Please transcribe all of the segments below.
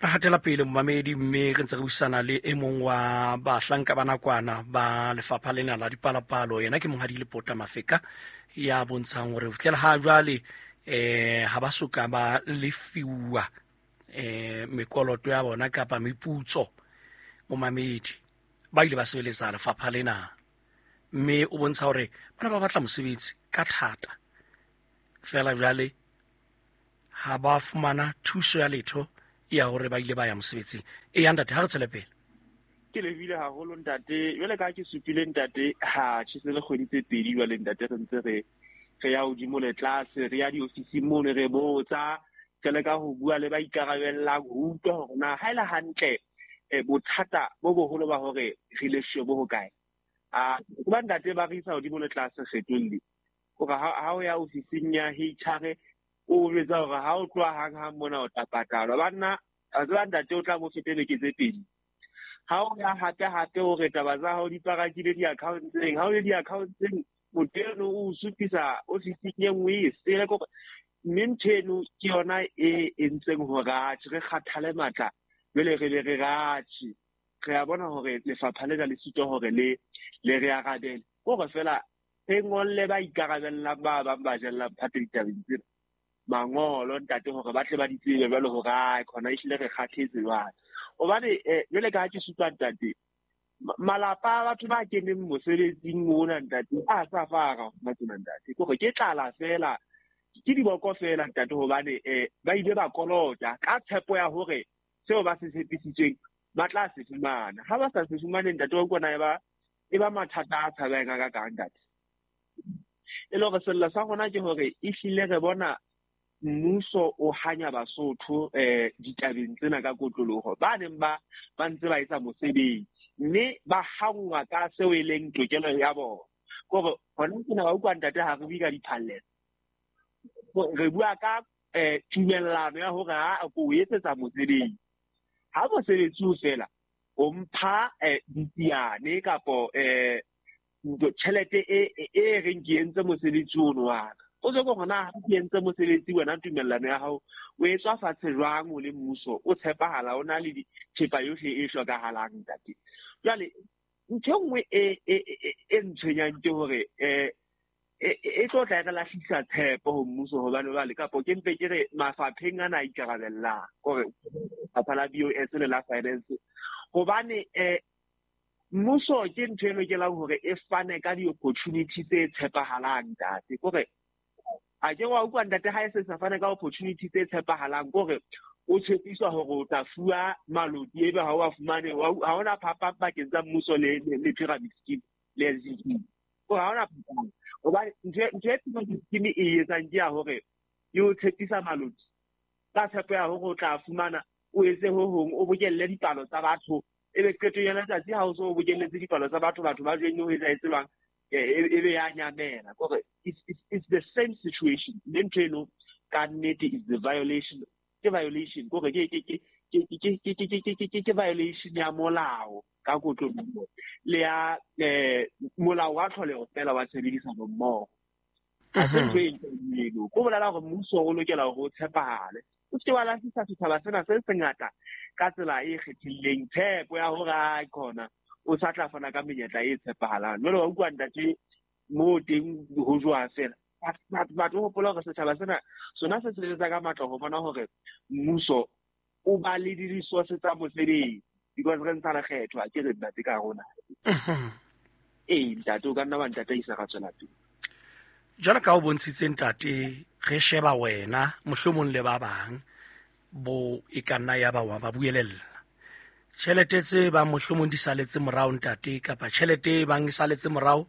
Re hatela pele, momamedi, mme re ntse re buisana le e mong wa bahlanka ba nakwana ba lefapha lena la dipalopalo. Yena ke Monghadi Lepota Mafeka, ya bontshang hore ho fihlela ha jwale ha ba soka ba lefiwa mekoloto ya bona kapa meputso. Momamedi, ba ile ba sebeletsa lefapha lena, mme o bontsha hore bana ba batla mosebetsi ka thata, fela jwale ha ba fumana thuso ya letho ya hore ba ile ba ya mosebetsing. E ya, ntate, ha re tswele pele. Ke lebile haholo, ntate. Jwale ka ke supile, ntate, ha tjhese le kgwedi tse 2 jwale, ntate, re ntse re ya hodimo le tlase, re ya diofising mono, re botsa, re leka ho bua le ba ikarabellang ho utlwa hore na ha e le hantle bothata bo boholo ba hore re lefshwe bo hokae. A ba, ntate, ba re isa hodimo le tlase kgetholli hore ha o ya ofising ya HR, o jwetsa hore ha o tloha hang hang mona o tla patalwa. Banna, a tseba, ntate, o tla bo fete beke tse 2. Ha o ya hape hape, o re taba tsa hao di parakile di-accountseng. Ha o le di-accountseng, motho eno o supisa ofising e nngwe e sele kore, mme ntho eno ke yona e entseng hore atjhe, re kgathale matla. Jwale re be re ratjhe, re a bona hore lefapha lena le sitwa hore le re arabele, kore fela re ngolle ba ikarabellang, ba bang ba jellang phate ditabeng tsena mangolo, ntate, hore ba tle ba di tsebe jwale hore ai khona ehlile re kgathetse jwale. Hobane jwale ka ha ke supa, ntate, malapa a batho ba keneng mosebetsing ona, ntate, a sa fara hona tsena, ntate, ke hore ke tlala fela, ke diboko fela, ntate, hobane ba ile ba kolota ka tshepo ya hore seo ba se tshepisitsweng ba tla se fumana. Ha ba sa se fumane, ntate, wa utlwa, e ba mathata a tshabehang a kakang, ntate. E le hore sello sa rona ke hore ehlile re bona mmuso o hanya Basotho ditabeng tsena ka kotloloho, ba neng ba ntse ba etsa mosebetsi, mme ba hangwa ka seo e leng tokelo ya bona. Kore hona tsena ba utlwa, ntate, ha re bue ka diphallelo, re bua ka tumellano ya hore ha ko o etsetsa mosebetsi, ha mosebetsi o fela, o mpha ditsiane kapo tjhelete e reng ke entse mosebetsi ono wa ka. O se ko na ke entse mosebetsi wena, tumellano ya hao o etswa fatshe jwang? O le mmuso, o tshepahala, o na le thepa yohle e hlokahalang, ntate. Jwale ntho e nngwe e ntshwenyang ke hore e tlo tla e re lahlisa tshepo ho mmuso, hobane jwale kapo ke mpe ke re mafapheng ana a ikarabellang, kore lefapha la BOS le la finance, hobane mmuso ke ntho e lokelang hore e fane ka di-opportunity tse tshepahalang, ntate. Kore a ke wa utlwa, ntate, ha e se sa fane ka opportunity tse tshepahalang, kore o tshepiswa hore o tla fuwa maloti, ebe ha o a fumane. Ha hona phapang pakeng tsa mmuso le pyramid scheme le SGB, kore ha hona phapang, hobane ntho e pyramid scheme e etsang ke ya hore e o tshepisa maloti ka tshepo ya hore o tla fumana, o etse ho hong, o bokelle dipalo tsa batho, ebe qetong ya letsatsi ha o so o bokelletse dipalo tsa batho, batho ba jwenne ho etsahetse jwang? Ebe ya nyamela. Kore it's the same situation, mme ntho eno ka nnete is the violation, ke violation, kore ke violation ya molao ka kotloloho le ya molao wa tlholeho fela wa tshebedisano mmoho. Ha se ntho e ntle eno. Ko bolela hore mmuso o lokela hore o tshepahale, o se ke wa lahlisa setjhaba sena se sengata ka tsela e kgethileng tshepo ya hore a khona o sa tla fana ka menyetla e tshepahalang. Jwale wa utlwa, ntate, moo teng ho jwa fela batho hopola hore setjhaba sena sona se sebetsa ka matla ho bona hore mmuso o ba le di-resource tsa mosebetsi, because re ntsha lekgetho, a ke re, ntate, ka rona. Ee, ntate, o ka nna wa ntataisa, ra tswela pele. Jwalo ka o bontshitse, ntate, re sheba wena mohlomong le ba bang bo e ka nna ya ba wa ba buelella tjhelete tse bang mohlomong di saletse morao, ntate, kapa tjhelete e bang e saletse morao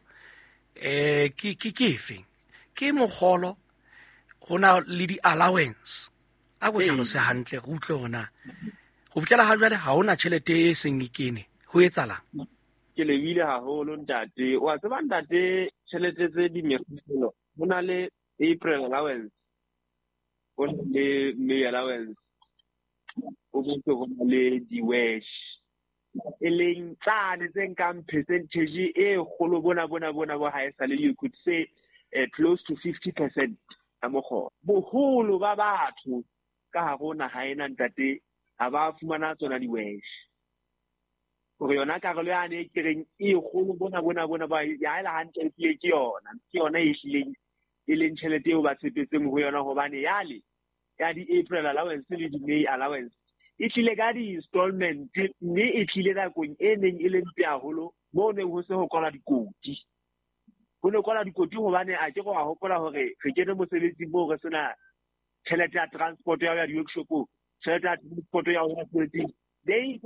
ke efeng? Ke mokgolo, ho na le di-allowance? A ko hlalose hantle re utlwe hona ho fihlela ha jwale ha hona tjhelete e seng e kene, ho etsalang? Ke lebile haholo, ntate. Wa tseba, ntate, tjhelete tse di mekgolo, ho na le April allowance, ho na le May allowance, ho boetse ho na le di-wash, e leng tsane tse nkang percentage e kgolo bona bona bona bo ha e sale, you could say close to 50% ya mokgolo. Boholo ba batho ka hare ho naha ena, ntate, ha Ha ba fumana tsona di-wesh. Hore yona karolo yane e kereng e kgolo bona bona bona ba ya ela hantle ehlile ke yona. Ke yona e hlileng e leng tjhelete eo ba tshepetseng ho yona hobane yale ya di-April allowance le di-May allowance e tlile ka di-installment mme e tlile nakong e neng e le mpe haholo moo neng ho se ho kwalwa dikoti. Ho ne kwalwa dikoti hobane a ke go a hopola hore re kene mosebetsing moo re sena tjhelete ya transport ya ho ya di-workshopong, tjhelete ya transport ya ho ya mosebetsing.